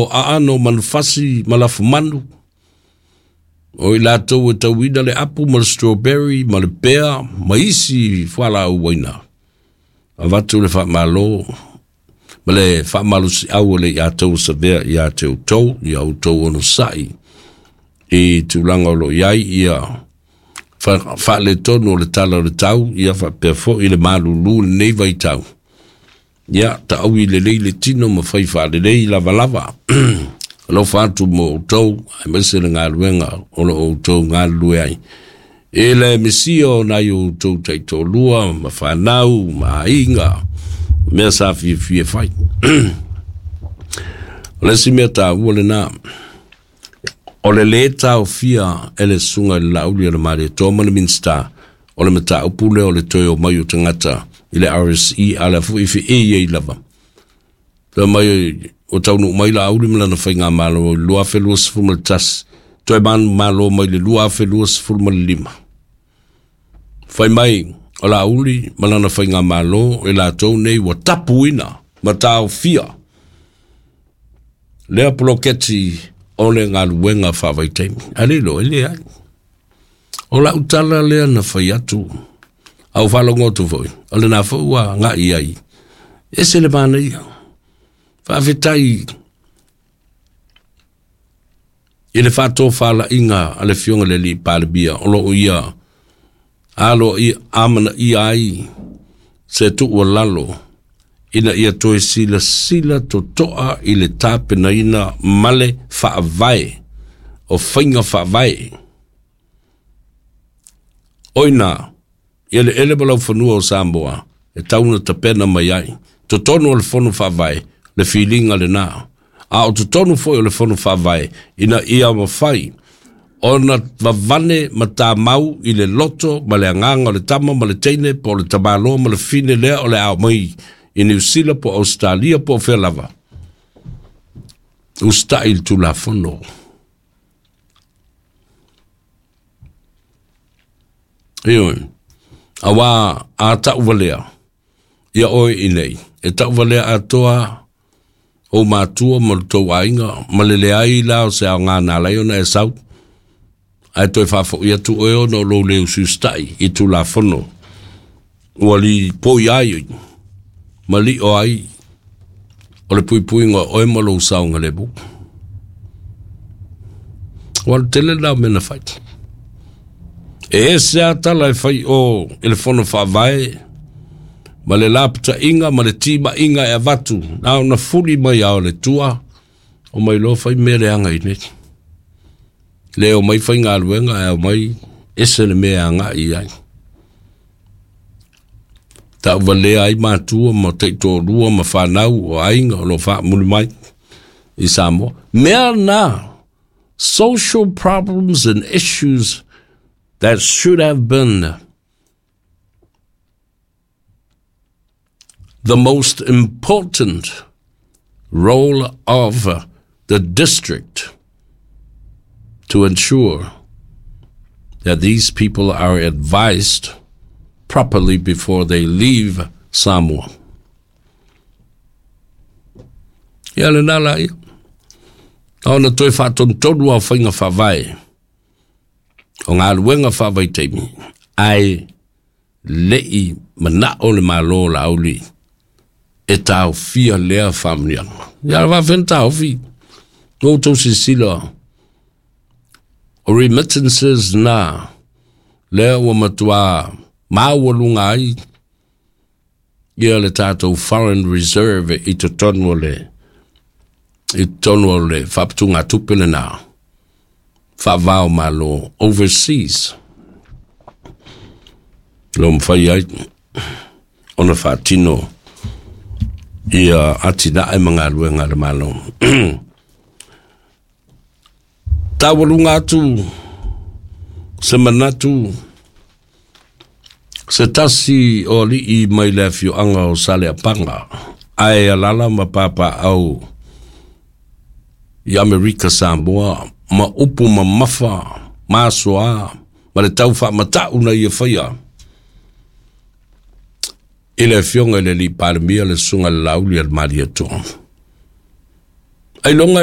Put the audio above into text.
O aano o manufasi ma lafumanu, o i latou e tauina le apu ma le strawberry ma le pea ma isi fualaau aina. Avatu le faamalo ma le faamalosiau o le ia tou savea ia te outou, ia outou onosai i tulaga o lo o i ai ia faaletonu o le tala o le tau, ia faapea foi le malulu i lenei vaitau. Ia, taui lelei le tino ma fai faalelei lavalava. Alofa atu mo outou, aemaise le galuega o lo o outou galulue ai. I le misia o nai o outou taitoalua ma fanau ma aiga, mea sa fiafia e fai. O le isi mea taua lena, o le lē taofia e le susuga i le Laauli a le Malietoa ma le Minisita o le mataupu lea o le toe omai o tagata i le RSE, a o le a foi e feei ai lava. Fai mai ua taunuu mai Laauli ma lana faigamalo i le 2021, toe manumalo mai le 2025. Fai mai o Laauli ma lana faigamalo e latou nei ua tapuina ma taofia lea poloketi o le galuega faavaitaimi. A le iloa, e leai. O lau tala lea na fai atu, a ua faalogo atu foi, o lena foi ua agai ai. E ese le manaia. Faafetai i le faatofalaiga a le Afioga i le Alii Palemia o lo o ia aloaia amanaia ai se tuualalo ina ia toe silasila totoa i le tapenaina ma le faavae o faiga faavae. O i ina, i eleele ma laufanua o Samoa e tau ona tapena mai ai. Totonu o le Fono Faavae le filiga lena, a o totonu foi o le Fono Faavae ina ia mafai ona vavane ma tamau i le loto ma le agaga o le tama ma le teine po o le tamaloa ma le fine lea o le a omai i Niu Sila po o Ausetalia po o fea lava, usitai i le Tulafono. Ioe, auā a tauvalea ia oe i nei, e tauvalea atoa ou matua ma lo tou aiga, ma le leai la o se aoga na ala ai ona e sau, ae toe faafoi atu oe ona o lou le usiusitai i Tulafono ua lipoi ai ma lio ai o le puipuiga o oe ma lou saogalemu. Ua alu tele lena o mea na fai. E ese lava tala e fai o i le fono faavae ma le lapataiga ma le timaiga e avatu na ona fuli mai lava o le tua o mai loa fai mea leaga i nei. Le omai faigaluega ae omai ese le mea e agai i ai. Tauvalea ai matua ma taitoalua ma fanau o aiga o lo o faamuli mai i Samoa. Mea na, social problems and issues that should have been the most important role of the district to ensure that these people are advised properly before they leave Samoa. Ia lena la ia. Ona toe faatonutonu au faiga faavae o galuega faavaitaimi, ae le'i mana'o le Malo o Laauli e taofia lea faamanuiaga. Ia le faafefea ona taofi? Ua outou silasila o remittances na lea ua matua maualuga ai ia le tatou foreign reserve i totonu o le i totonu o le faaputugatupe lena faava o Malo overseas lo mafai ai ona faatino ia atinae ma galuega a le Malo. Taualuga atu se manatu se tasi o alii mai le afioaga o Saleapaga, ae alala ma papaau i Amerika Samoa ma upu mamafa masoa ma le tau faamatau na ia faia i le afioga i le Alii Palemia le Susuga i le Laauli a le Malietoa. Ailoga.